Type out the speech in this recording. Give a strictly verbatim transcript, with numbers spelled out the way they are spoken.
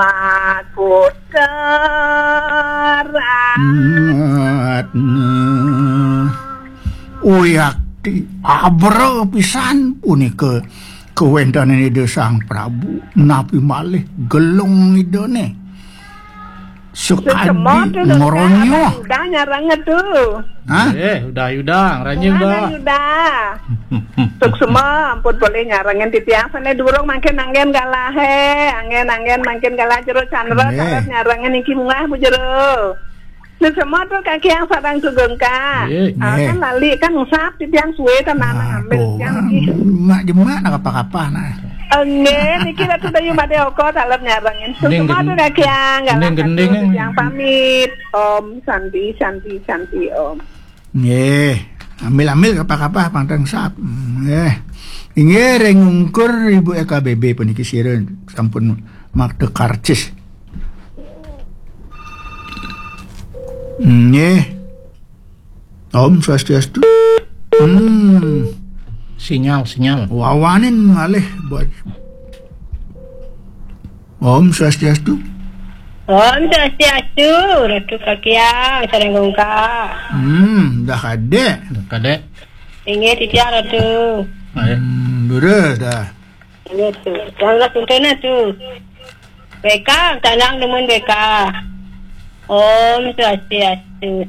Pakuteran. Uyakti abra pisan punika kawéntenan Ida Sang Prabu, napi malih gelung Idane. Sukadi semua tu, Dokter. Ngeronyoh. Udah nyarang tu. Hah? Eh, udah, udah. Ranya udah. Udah. Suksma, ampun boleh nyarangin titiang sana durung mangkin anggen galahe, anggen-anggen mangkin galah jero candra, nggih. Taler nyarangin iki mungah Bu Jero. Suksma tu kaki yang sarang sugeng ka. Nggih. Ah, nggih. Kan lali kan ngusap titiang suwe tenan ngambil titiang iki. Mak jemak nak apa-apa nah. Enggih, niki Ratu Dayu Made Oko taler nyarangin. Suksma tu kaki yang galah gending, gending. Titiang pamit. Om Santi, Santi, Santi, Om. Nggih. Ambil-ambil kapah-kapah pang teng sap. Nggih. Inggih ring ungkur Ibu E K B B puniki sira sampun makta karcis. Nggih. Om Swastiastu. Hmm. Sinyal, sinyal. Wawanin malih buat. Om Swastiastu. Om Swastiastu, Ratu Kakiang, sareng Gungka. Hmm, dah kadek. Kadek. Inggih titiang Ratu. Ayo. Hmm, dura dah. Inggih tu. Yang lah tuntun tu. Beka, tanang nemun beka. Om Swastiastu.